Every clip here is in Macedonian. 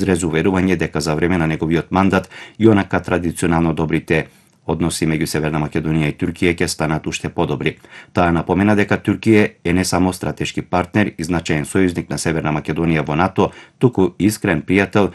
изрез уверување дека за време на неговиот мандат и онака традиционално добрите односи меѓу Северна Македонија и Туркија ќе станат уште подобри. Таа напомена дека Туркија е не само стратешки партнер и значаен сојузник на Северна Македонија во НАТО, туку искрен пријател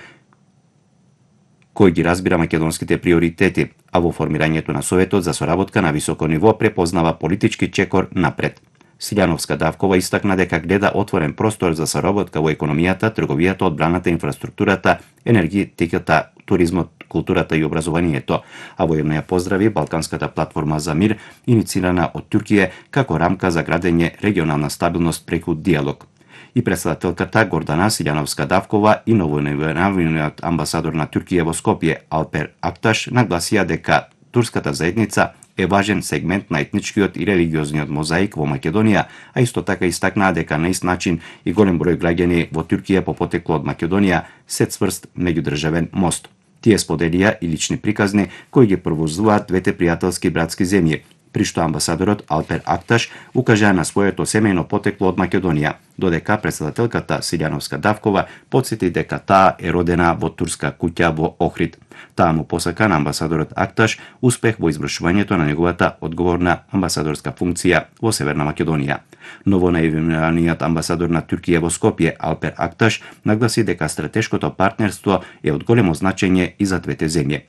кој ги разбира македонските приоритети, а во формирањето на Советот за соработка на високо ниво препознава политички чекор напред. Силјановска-Давкова истакна дека гледа отворен простор за соработка во економијата, трговијата, одбраната, инфраструктурата, енергетиката, туризмот, културата и образованието, а воедно ја поздрави Балканската платформа за мир, иницирана од Туркија како рамка за градење регионална стабилност преку диалог. И председателката Гордана Силјановска-Давкова и новоименуваниот амбасадор на Туркија во Скопје Алпер Акташ нагласија дека турската заедница е важен сегмент на етничкиот и религиозниот мозаик во Македонија, а исто така истакнаа дека на ист начин и голем број граѓани во Туркија по потекло од Македонија се цврст меѓудржавен мост. Тие споделија и лични приказни кои ги провозуваат двете пријателски братски земји, при што амбасадорот Алпер Акташ укажа на своето семејно потекло од Македонија, додека председателката Силјановска-Давкова потсети дека таа е родена во турска куќа во Охрид. Таа му посака на амбасадорот Акташ успех во извршувањето на неговата одговорна амбасадорска функција во Северна Македонија. Новонаименуваниот амбасадор на Туркија во Скопје Алпер Акташ нагласи дека стратешкото партнерство е од големо значење и за двете земји.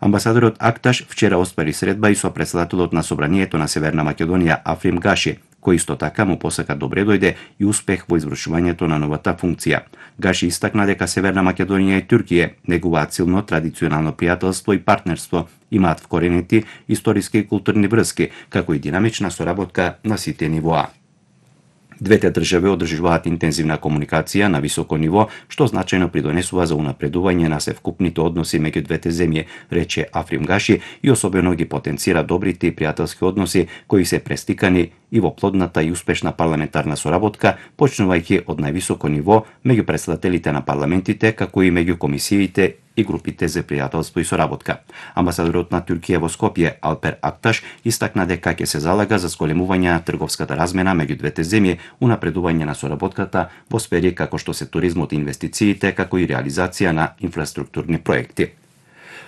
Амбасадорот Акташ вчера оствари средба и со председателот на Собранието на Северна Македонија Африм Гаши, кој исто така му посака добре дојде и успех во извршувањето на новата функција. Гаши истакна дека Северна Македонија и Туркија негуваат силно традиционално пријателство и партнерство, имаат вкоренети историски и културни врски, како и динамична соработка на сите нивоа. Двете држави одржуваат интензивна комуникација на високо ниво, што значајно придонесува за унапредување на севкупните односи меѓу двете земји, рече Африм Гаши, и особено ги потенцира добрите и пријателски односи кои се престикани и во плодната и успешна парламентарна соработка, почнувајќи од највисоко ниво меѓу претседателите на парламентите, како и меѓу комисиите и групите за пријателство и соработка. Амбасадорот на Туркија во Скопје Алпер Акташ истакна дека ќе се залага за зголемување на трговската размена меѓу двете земји, унапредување на соработката во сфери како што се туризмот и инвестициите, како и реализација на инфраструктурни проекти.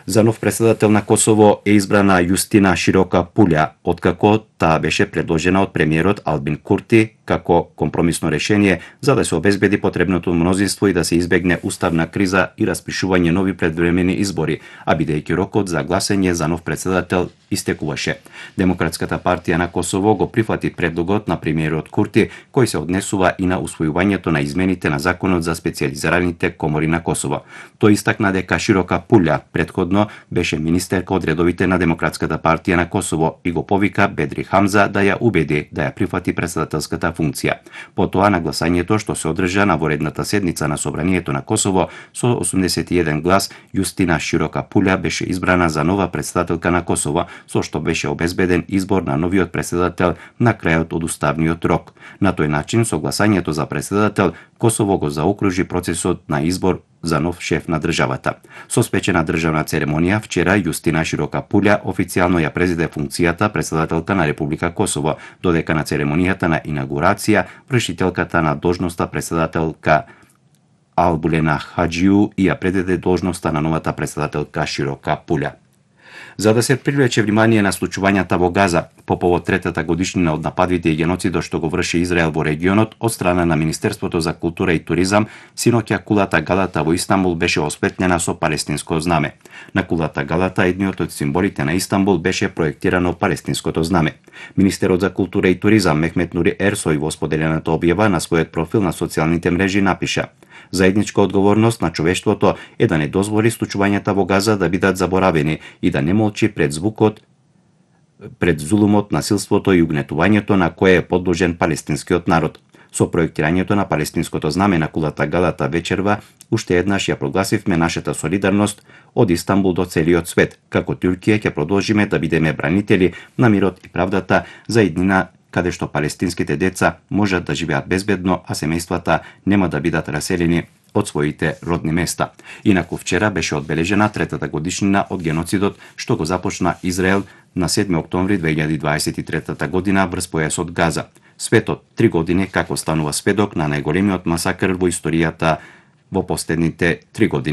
За нов председател на Косово е избрана Јустина Широка Пулја, откако таа беше предложена од премиерот Албин Курти како компромисно решение за да се обезбеди потребното мнозинство и да се избегне уставна криза и распишување нови предвремени избори, а бидејќи рокот за гласање за нов председател истекуваше. Демократската партија на Косово го прифати предлогот на премиерот Курти, кој се однесува и на усвојувањето на измените на законот за специјализираните комори на Косово. Тој истакна дека Широка Пулја предходно беше министерка од редовите на Демократската партија на Косово и го повика Бедри Хамза да ја убеди да ја прифати председателската функција. Потоа на гласањето што се одржа на воредната седница на Собранието на Косово со 81 глас, Јустина Широка Пулја беше избрана за нова председателка на Косово, со што беше обезбеден избор на новиот председател на крајот од уставниот рок. На тој начин, со гласањето за председател, Косово го заокружи процесот на избор за нов шеф на државата. Со спечена државна церемонија, вчера Јустина Широка Пулја официјално ја презеде функцијата председателка на Република Косово, додека на церемонијата на инаугурација вршителката на должноста председателка Албулена Хаџију и ја предаде должноста на новата председателка Широка Пулја. За да се привлече внимание на случувањата во Газа по повод третата годишнина од нападите и геноцидот што го врши Израел во регионот, од страна на Министерството за култура и туризам, синоќа кулата Галата во Истанбул беше осветлена со палестинско знаме. На кулата Галата едниот од символите на Истанбул беше проектирано палестинското знаме. Министерот за култура и туризам Мехмет Нури Ерсој во споделената објава на својот профил на социјалните мрежи напиша: "Заедничка одговорност на човештвото е да не дозволи случувањата во Газа да бидат заборавени и да не молчи пред звукот, пред зулумот, насилството и угнетувањето на кое е подложен палестинскиот народ. Со проектирањето на палестинското знаме на кулата Галата вечерва, уште еднаш ја прогласивме нашата солидарност од Истанбул до целиот свет, како Туркија ќе продолжиме да бидеме бранители на мирот и правдата за иднина каде што палестинските деца можат да живеат безбедно, а семејствата нема да бидат раселени од своите родни места." Инаку вчера беше одбележена третата годишнина од геноцидот што го започна Израел на 7 октомври 2023 година врз појасот Газа. Светот 3 години како станува сведок на најголемиот масакр во историјата во последните 3 години.